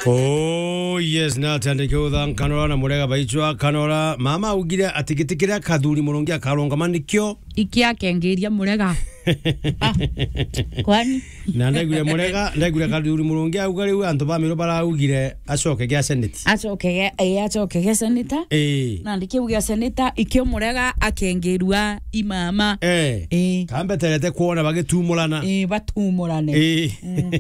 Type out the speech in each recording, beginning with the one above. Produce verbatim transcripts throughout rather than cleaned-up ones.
Oh, yes, na tandike utha nkanora na murega baichwa kanora. Mama augire ati giti kiria Kathuri Murungi akarungama nikio. Iki akengiria murega. Ah, kwani? Na ndaigwire murega, ndaigwire Kathuri Murungi auga riu antu ba Miru baraugire acoke gia seneti. Acoke ge-, eh, acoke ge seneta. Eh. Na ndikiu gia seneta, ikio murega akengirua imama. Eh. Eh. Kambeterete kuona bagitumurana. Eh, batumurane. Eh. Mm.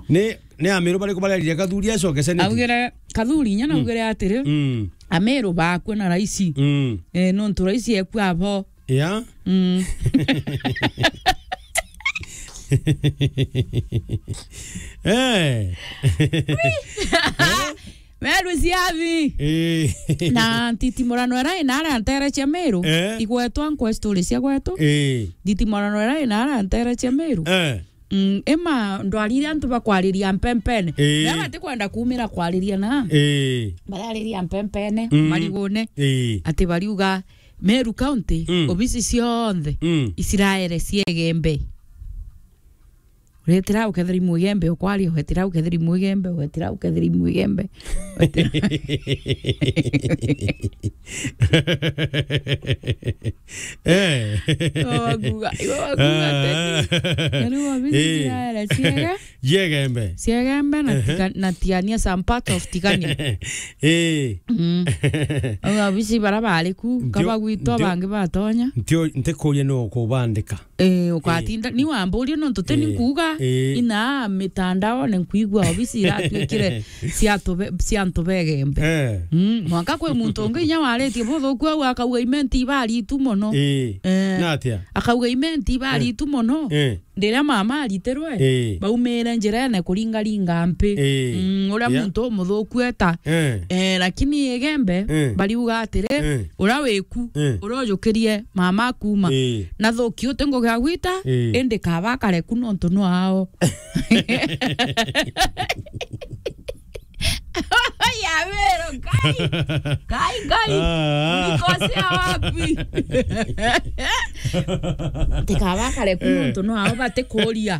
Ni, ni Amiru bariku barerire Kathuri acoke seneti? Augire, Kathuri inya naugire atiri, mm, Amiru bakua na raisi. Mm. Eh, nontu raisi ekua abo. Ya? Mm. Eh. Meru ciathi. Eh. Na ntitimurano ira inara ntere cia Meru. Eh. Igwetwa nkwe story cia gwetu. Eh. Ntitimurano ira inara ntere cia Meru. Eh. Mm, ima ndwarire antu bakwariria mpempene. Eh. Na batikwenda kumira kwariria na. Eh. Barariria mpempene, mm, marigune. Eh. Ati bariuga Meru County, mm, obisi cionthe, mm, Isiraeli ciegembe. Uretira ukethira imwigembe ukwaria, uretira ukethira imwigembe, uretira ukethira imwigembe. Eh. Iwe wakuga, iwe wakuga teni. Ah. Na riu obisi, eh, Isiraeli ciege. Ciegembe. Ciegembe na, ehe, tika-, na Tigania, some part of Tigania. Eh. Mm. Au abisi bara bari ku, ntio, kabagwitwa ntio, bangi batonya. Ntio, ntikuria no kubandika. Eh, ukatinda, eh, ni wamburia nontu teni, eh, nkuga, eh, ina mitandaone nkuigua obisi iratuikire cia antu be-, cia antu begembe. Eh. Mm, mwanka kwi muntu ungi inya waritie buthuku au akauga imenti ibari itu mono. Eh. Eh. Na atia? Akauga imenti ibari, eh, itu mono. Eh. Riria mama aritirwe, ii, baumire njirene kuringaringa mpi. Ii. Mm, uria, ya, muntu umuthuku eta. Ii. Eh, lakini Igembe, ii, bariuga atiri, ii, uria wiku, ii, uria ujukirie mama kuuma. Ii. Na thuki uti ngugi ya gwita, ii, indi kaba akare ku nontu no ao. Ya Meru, Ngai. Ngai, Ngai. Ah. Ulikosea wapi? Tikaba akare ku, eh, nontu no ao batikuria.